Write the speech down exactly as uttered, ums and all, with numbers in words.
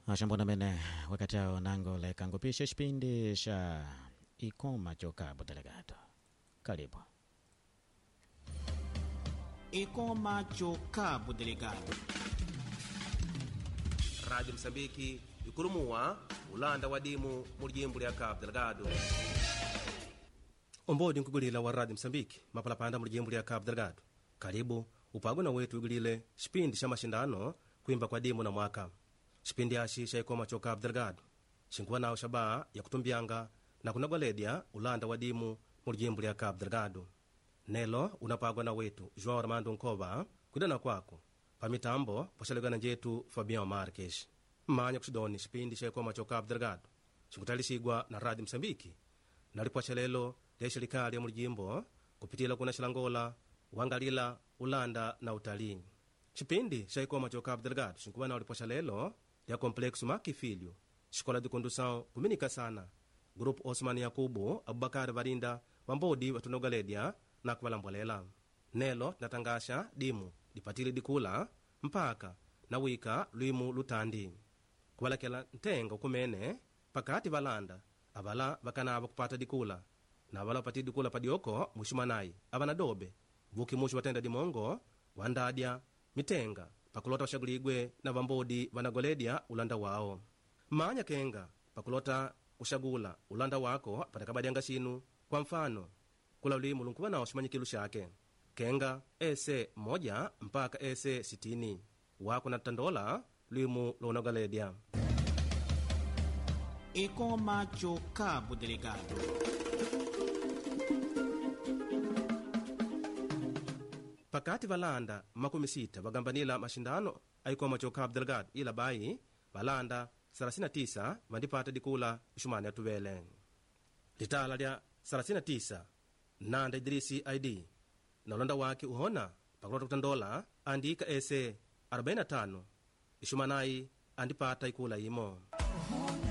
Ashambona mene wakati ao nango lekangupisha xipindi xa Ikoma cho Cabo Delgado. Karibu. Ikoma cho Cabo Delgado. Rádio Moçambique ikulumuwa ulanda wa dimu mu lijimbo lya Cabo Delgado. Ombodi nkugulila wa Rádio Moçambique mapalapanda mu lijimbo lya Cabo Delgado. Karibu upagwe na wetu igulile xipindi xa maxindano kuimba kwa dimu na mwaka. Xipindi axi xa Ikoma cho Cabo Delgado xinkuva nawo xabaha ya kutumbyanga na kunagwaledya ulanda wa dimu mu lijimbo lya Cabo Delgado. Nelo unapagwa na wetu João Armando Nkova kwidana kwako pamitambo poxalegana njetu Fabião Marques. Mmanya kuxidoni xipindi xa Ikoma cho Cabo Delgado xinkutalisigwa na Rádio Moçambique na lipwaxelelo lya xelikali ya mulijimbo kupitila kuna xilangola wangalila ulanda na utalii. Xipindi xa Ikoma cho Cabo Delgado xinkuva nawo lipwaxalelo lya Complexo Makifilho, Escola de Condução Kuminika Sana, Grupo Osman Yakubu Abubakar Varinda vambodi vatunogaledya na kuvalambwalela. Nelo tinatangaxa dimu dipatile dikula mpaka na wika lwimu lutandi kuvalakela ntenga ukumene pakati valanda avala vakanava kupata dikula na avala vapatile dikula padioko muxumanayi avana dobe vuki muxu vatenda dimongo wandadya mitenga pakulota vaxaguligwe na vambodi vanagoledya ulanda wao. Mmanya kenga pakulota kuxagula ulanda wako patakabadianga xinu. Kwa mfano kula lwimu lunkuva nawo ximanyikilu xake kenga ese moja mpaka ese sitini wako na tandola lwimu loonogaledya. Ikoma cho Cabo Delgado. Pakati valanda makumi sita vagambanila maxindano a Ikoma cho Cabo Delgado ila bayi valanda thelathini na tisa vandipata dikula ixumani ya tuvele. Litala lya thelathini na tisa Nanda Idrisi I D na ulanda wake uhona pakulota kutandola andika ese arobaini na tano ixumanayi andipata ikula imo.